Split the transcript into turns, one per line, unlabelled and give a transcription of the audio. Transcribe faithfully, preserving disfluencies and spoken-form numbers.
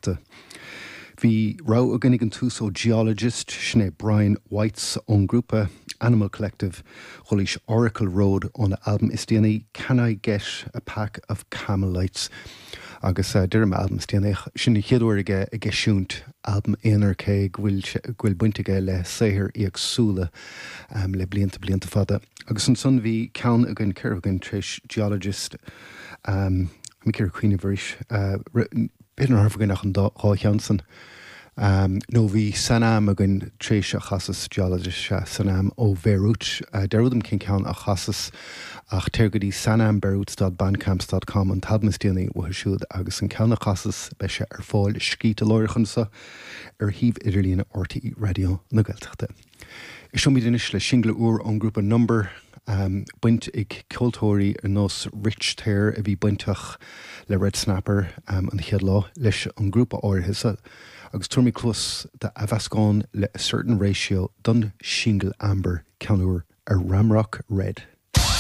Márta. Bhí rogha againn ag an tús ó Geologist sin é Brian Weitz ón grúpa Animal Collective chualaís Oracle Road óna albam is déanaí Can I Get a Pack of Camel Lights agus uh, deirim albam is déanaí sin an chéad uair aige ag eisiúint albam aonair cé go bhfuil baint aige le saothair éagsúla um, le blianta blianta fada. Agus ansan bhí ceann againn céard againn tar éis Geologist um, mi cuioine bhris uh, B'fhéidir nach raibh againn ach an dhá cheann san. Um, nó bhí Sanam againn tar éis a chasas Geologist se Sanam ó Bheirút uh, dearúdaim cén ceann a chasas ach téir go dtí sanambeirut.bandcamp.com an t-albam is déanaí uathu siúd agus an ceann a chasas beidh sé ar fáil scríte láithreach anseo ar shuíomh idirlíne RTÉ Raidió na Gaeltachta. Éistfimid anois le single úr ón grúpa Number um, baint ag ceoltóirí ar nós Rich Thayer a bhí bainteach le Red Snapper um, an chéad lá leis an grúpa áirithe agus tabharfaimid cluas d'athmheascán le a certain ratio don single Amber ceann úr ar Ramrock Red.